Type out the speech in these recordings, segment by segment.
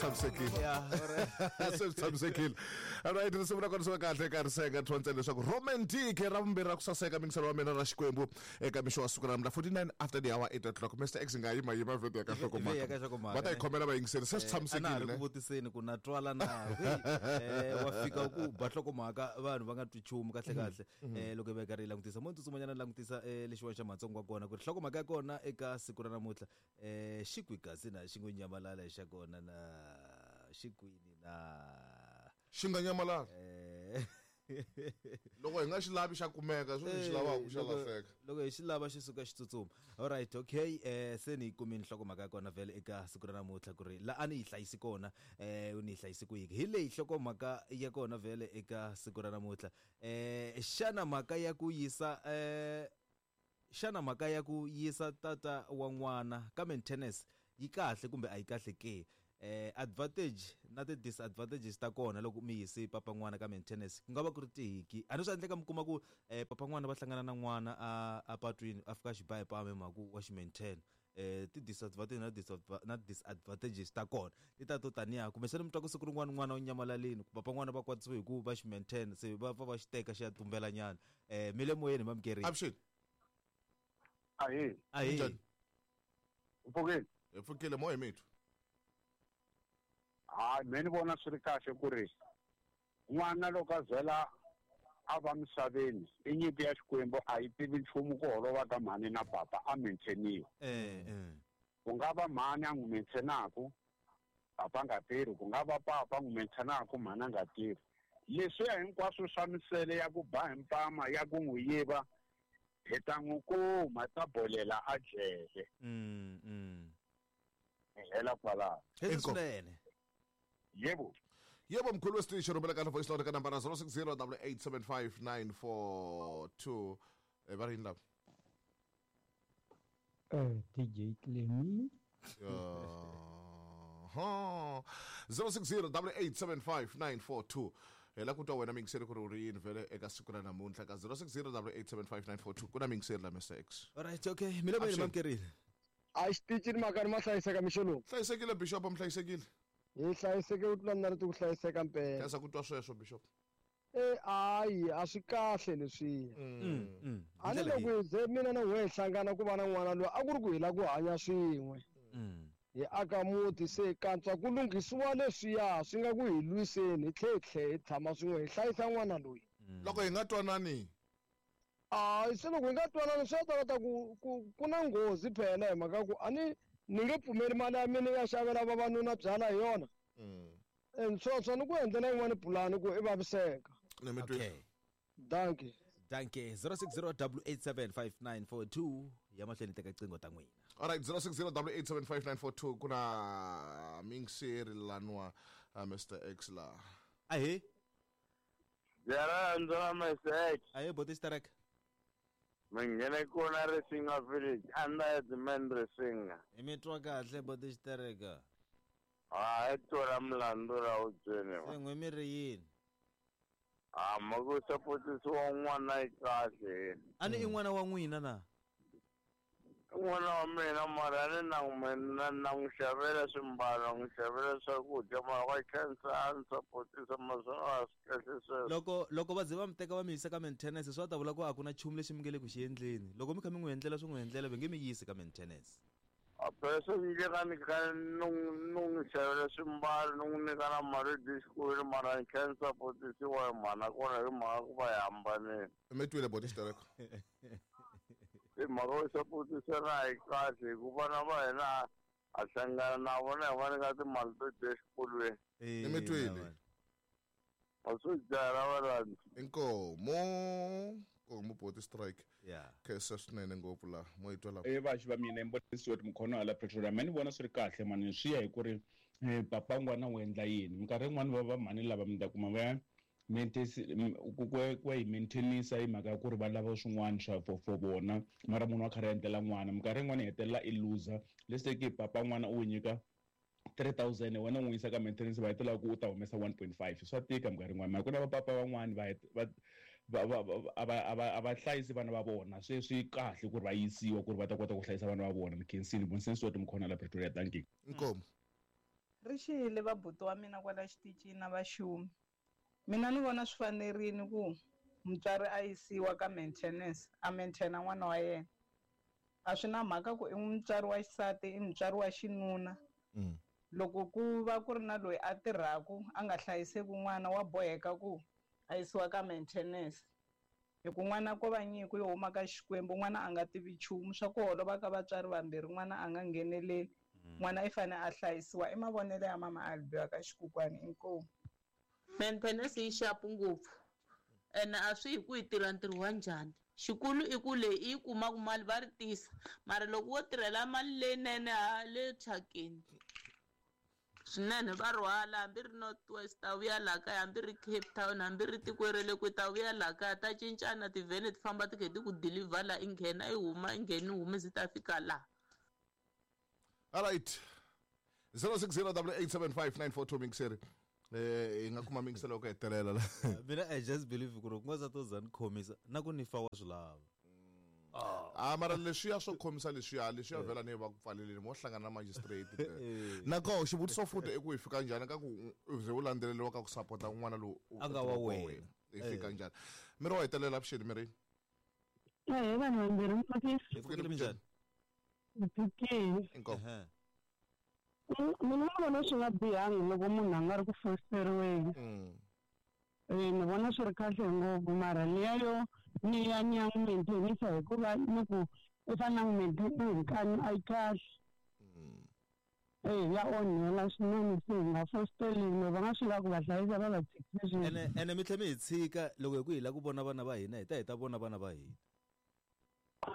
Tshamisekile. Ya, alright. Se swi tshamisekile. Alright, risimu ra kona swi va kahle eka riseka thontsela leswaku romantic ra vumbirhi ra ku saseka mingiselo wa mina ra xikwembu eka mixo wa siku ra namuntlha 49 after the hour 8 o'clock. Mr X nga yima yima vhete ya ka Vhe ya ka nhlokomhaka. nhlokomhaka, Va ta yi ne? khomela vayingiseri se swi A na ha ri tshamisekile ku ne? vutiseni ku na twala na wa fika ku ba nhlokomhaka vanhu va nga twi nchumu kahle kahle. Loko hi va hi karhi hi langutisa mo tsutsumanyana langutisa lexiwani xa matsongo wa kona ku ri nhlokomhaka ya kona eka siku ra namuntlha xi kwi kasi na xi ngo nyamalala xa kona na xi kwini na Xi nga nyamalala. Loko hi nga xi lavi xa kumeka, sweswi hi xi lavaka xa lahleka. Loko hi xi lava xi suka xi tsutsuma. Alright, okay, se ni yi kumile nhlokomhaka ya kona vhele eka siku ra namuntlha ku ri la a ni yi hlayisi kona ni yi hlayisi kwihi. Hi leyi nhlokomhaka ya kona vhele eka siku ra namuntlha. Xana mhaka ya ku yisa xana mhaka ya ku yisa tata wa n'wana ka maintenance yi kahle kumbe a yi kahle ke? Advantage na ti disadvantages ta kona loko mi yise papa n'wana ka maintenance ku nga va ku ri tihiki. A ni swi endleka mi kuma ku papa n'wana va hlangana na n'wana a patwini a fika a xi ba hi pama hi mhaka ku wa xi maintain. Ti disadvantage na na disadvantages ta kona ti ta to taniya kumbexana mi twa ku siku rin'wana n'wana u nyamalalini papa n'wana va kwatisiwe hi ku va xi maintain se va pfa va xi teka xi ya tumbela nyana. Mi le moyeni mamukeri. Avuxeni. Ahee. Ahee. Njhani? U pfukile? Hi pfukile moya hi mithu. Hayi, me ni vona swi ri kahle ku ri n'wana loko a zela a va misaveni i nyimpi ya Xikwembu a yi tivi nchumu ku holova ka mhani na papa a maintainiwa. Ku nga va mhani a n'wi maintainaku papa a nga tirhi, ku nga va papa a n'wi maintainaku mhani a nga tirhi. Leswiya hinkwaswo swa misele ya ku ba hi mpama ya ku n'wi yiva hi ta n'wi kuma ta bolela a jele. Hi hela kwalaho. Hezi Inkomu. swinene. Yebo. Yebo mkhulu wesitishi rhumela kahle voice note ka nambara 060 875 942. Va ri yini lava? DJ Clemmy. 060 875 942. Hi la ku twa wena mingiseri ku ri u ri yini vhele eka siku ra namuntlha ka 060 875 942 ku na mingiseri la Mr X. Alright, okay. Mi le moyeni Avuxeni. mamukerile. A xitichi ni mhaka ni ma hlayiseka mixo lowu. Hlayisekile Bishop, mi hlayisekile. Hi hlayiseke ku tlula mina ri ku hlayiseka mpela. Khensa ku twa sweswo Bishop. Hayi, a swi kahle leswiya. A ni loko hi ze mina na n'we hi hlangana ku va na n'wana loyi a ku ri ku hi lava ku hanya swin'we. Hi aka muti se kantswa ku lunghisiwa leswiya swi nga ku hi lwiseni hi tlhe hi tlhe hi tshama swin'we hi hlayisa n'wana loyi. Loko hi nga twanani. Hayi, se loko hi nga twanani swi ta ta ku ku ku na nghozi phela hi mhaka ku a ni ni nge pfumeli mali ya mina ya xavela vavanuna byala hi yona. Sweswo ni ku endlela yin'wana pulani ku i vaviseka. Ni mi twile. Okay. Dankie. Dankie. 060 875 942 ya mahlweni teka qingho ta n'wina. Alright, 060 875 942 ku na mingiseri lanwa Mr X la. Ahee. Byela ra Mr X. Ahee boti Sterek. Mi nghene kona Risinga village under the man Risinga. Hi mi twa kahle boti Sterek. Hayi tora mlandu ra u byeni. Se n'we mi ri yini? Ah, ma ku sapotisiwa n'wana yi kahle. A ni i n'wana wa n'wina na? N'wana wa mina mara ni na n'wi na n'wi xavela swimbalo, n'wi xavela swakudya mara wa khensa a ni sapotisa maswona a swi kahle sweswo. Loko va ze va mi teka va mi yisa ka maintenance swi va ta vula ku a ku na nchumu lexi mi nge le ku xi endleni. Loko mi kha mi n'wi endlela swi n'wi endlela va nge mi yisi ka maintenance. A phela swi endleka ni kha ni n'wi xavela swimbalo ni n'wi nyika na mali yo dya xikolweni mara ni kha ni sapotisiwa hi mhana kona hi mhaka ku va hi hambanile. Mi twile boti Sterek. I mhaka yo sapotisana a yi kahle hi ku vana va hina ha hlangana na vona hi va nyika timali to dya exikolweni. Mi twile. A swi dlaya varhandzi. Inkomo. Nkomo boti Strike. Yeah. Khensa swinene ngopfu la mo yi twa la. Vaxi va mina Mbonisiwe Mkhono hala Pretoria. Mina ni vona swi ri kahle mani swi ya hi ku ri papa n'wana u endla yini. Minkarhi yin'wani va va mhani lava mi ta kuma va ya ku hi maintainisa hi mhaka ya ku ri va lava swin'wana swa for vona mara munhu wa karhi a endlela n'wana. Minkarhi yin'wani hi hetelela i loser. Let's say papa n'wana u nyika 3000 wena u n'wi yisa ka maintenance va hetelela ku u ta humesa 1.5. Swa tika minkarhi yin'wana. Mara ku na vapapa van'wani va a va hlayisi vana va vona. Se swi kahle ku ri va yisiwa ku ri va ta kota ku hlayisa vana va vona. Ni khensile Mbonisiwe Mkhono la Pretoria. Thank you. Inkomo. Ri xile vabuti wa mina kwala xitichini na vaxumi. Mina ni vona swi fanerile ku mutswari a yisiwa ka maintenance, a maintaina n'wana wa yena. A swi na mhaka ku i mutswari wa xisati, i mutswari wa xinuna. Loko ku va ku ri na loyi a tirhaku a nga hlayiseki n'wana wa boheka ku a yisiwa ka maintenance. Hi ku n'wana ko va nyiko yo huma ka Xikwembu, n'wana a nga tivi nchumu swa ku holova ka vatswari vambirhi, n'wana a nga ngheneleli. N'wana i fane a hlayisiwa. I mavonelo ya mama Albiwa ka Xikukwani. Inkomu. Maintenance yi xapu ngopfu ene a swi hi ku yi tirha ntirho wa njhani. Xikulu i ku leyi i yi kumaka mali va ri tisa, mara loko wo tirhela mali leyinene ha le thyakeni swinene va rhwala, hambi ri North West ta vuya laha kaya, hambi ri Cape Town, hambi ri tiko ra le kwihi ta vuya laha kaya, ta cincana tivhene ti famba ti khe ti ku deliver laha, i nghena i huma, i nghena i huma zi ta fika laha. All right, 0608875942 mingiseri. Hi nga kuma mingiselo ku hetelela la. Mina I just believe ku ri ku nga za to za ni khomisa na ku ni fa wa swi lava. A mara leswiya swo khomisa leswiya leswiya vhela ni va ku pfaleleni mo hlangana na magistrate. Na koho xivutiso futhi i ku hi fika njhani ka ku u ze u landzeleriwa ka ku sapota n'wana lowu a nga wa wena. Hi fika njhani? Miri wa hetelela avuxeni miri. Eh, vanhu vambirhi mpfukile. Hi pfukile minjhani? Mpfukile. Inkomu. Mina ni vona swi nga bihangi loko munhu a nga ri ku fosteriweni. Ni vona swi ri kahle ngopfu, mara liya yo ni ya ni ya n'wi maintainisa hikuva ni ku i fanele a n'wi maintain hi nkani a yi kahle. Ya onhela swinene, se hi nga fosteriwi, va nga swi lava ku va hlayisa va va tshikise sweswi. Ene mi tlhe mi hi tshika loko hi ku hi lava ku vona vana va hina, hi ta hi ta vona vana va hina.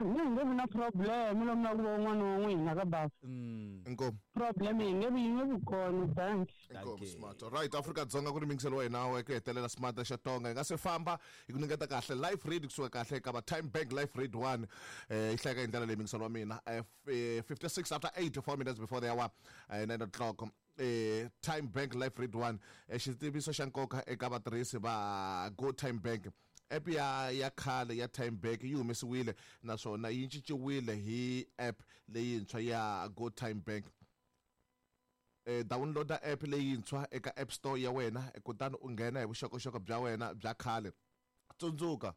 Ni nge vi na problem lomu na ku va un'wana wa n'wina ka bava. Inkomu. Problem yi nge vi yi nge vi kona, thanks. Inkomu smart. All right, Afrika Dzonga ku ri mingiselo wa hina wa ku hetelela smart xa Tonga. Hi nga se famba hi ku nyiketa kahle live read kusuka kahle ka va Time Bank live read 1. Yi hlayeka hi ndlela leyi mingiselo wa mina. 56 after 8, 4 minutes before the hour, 9 o'clock. Time Bank live read 1. Xitiviso xa nkoka eka vatirhisi va Go Time Bank. App ya khale ya Time Bank yi humesiwile naswona yi cinciwile hi app leyintshwa ya Go Time Bank. Downloada app leyintshwa eka App Store ya wena kutani u nghena hi vuxokoxoko bya wena bya khale. Tsundzuka,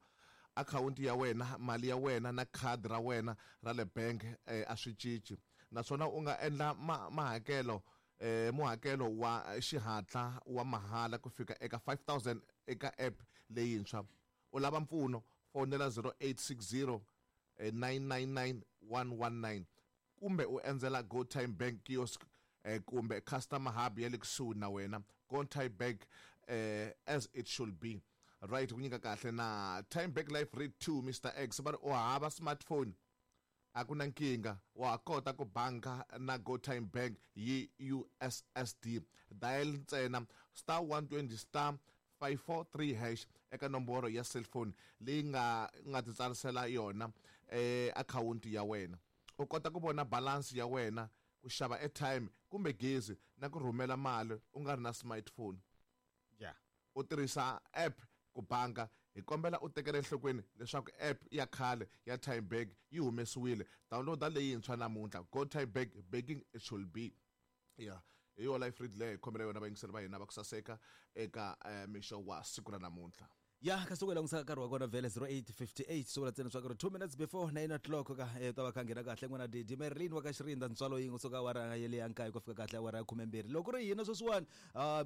akhawunti ya wena, mali ya wena na khadi ra wena ra le bank a swi cinci. Naswona u nga endla mahakelo muhakelo wa xihatla wa mahala ku fika eka 5000 eka app leyintshwa. U lava mpfuno, fonela 0860 999 119 kumbe u endzela Go Time Bank kiosk kumbe customer hub ya le kusuhi na wena. Go Time Bank, as it should be. Right, ku nyika kahle na Time Bank Life Read 2 Mr X va ri u hava smartphone a ku na nkingha, wa ha kota ku banka na Go Time Bank hi USSD. Dial ntsena star 120 star 543 hash eka nomboro ya cellphone leyi nga nga titsarisela yona akhawunti ya wena. U kota ku vona balance ya wena, ku xava airtime kumbe gezi na ku rhumela mali u nga ri na smartphone. U tirhisa app ku banka, hi kombela u tekela enhlokweni leswaku app ya khale ya Time Bank yi humesiwile. Downloada leyintshwa namuntlha. Go Time Bank, banking it should be. Yeah. Hi yo life read leyi hi khomela yona vayingiseri va hina va ku saseka eka mixo wa siku ra namuntlha. Ya ka siku langusaka nkarhi wa kona vhele 08:58 swi vula ntsena swa ku ri 2 minutes before 9 o'clock ka ta va kha nghena kahle n'wana Didi Merlin wa ka Xirinda ntswalo yin'we kusuka awara ya le ya nkaye ku fika kahle awara ya 12 loko ri hina sweswiwani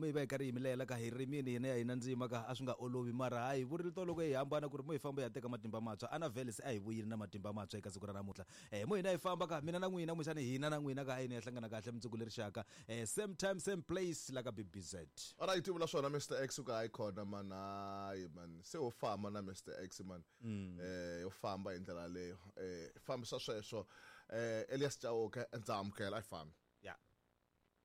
mi va hi karhi hi milela ka hi rimini hina ya hina ndzima ka a swi nga olovi mara hayi vurile to loko hi hambana ku ri mo hi famba hi ya teka matimba mantshwa ana vhele se a hi vuyile na matimba mantshwa eka siku ra namuntlha mo hina hi famba ka mina na n'wina kumbexani hina na n'wina ka ayini ya hlangana kahle mundzuku leri xaka same time same place la ka BBZ. Alright, vula swona Mr X ku hayi khona man, hayi man se ho famba na Mr X man. Yo famba hi ndlela leyo. Fambisa sweswo. Elias Chauke ndza amukela a yi fambi.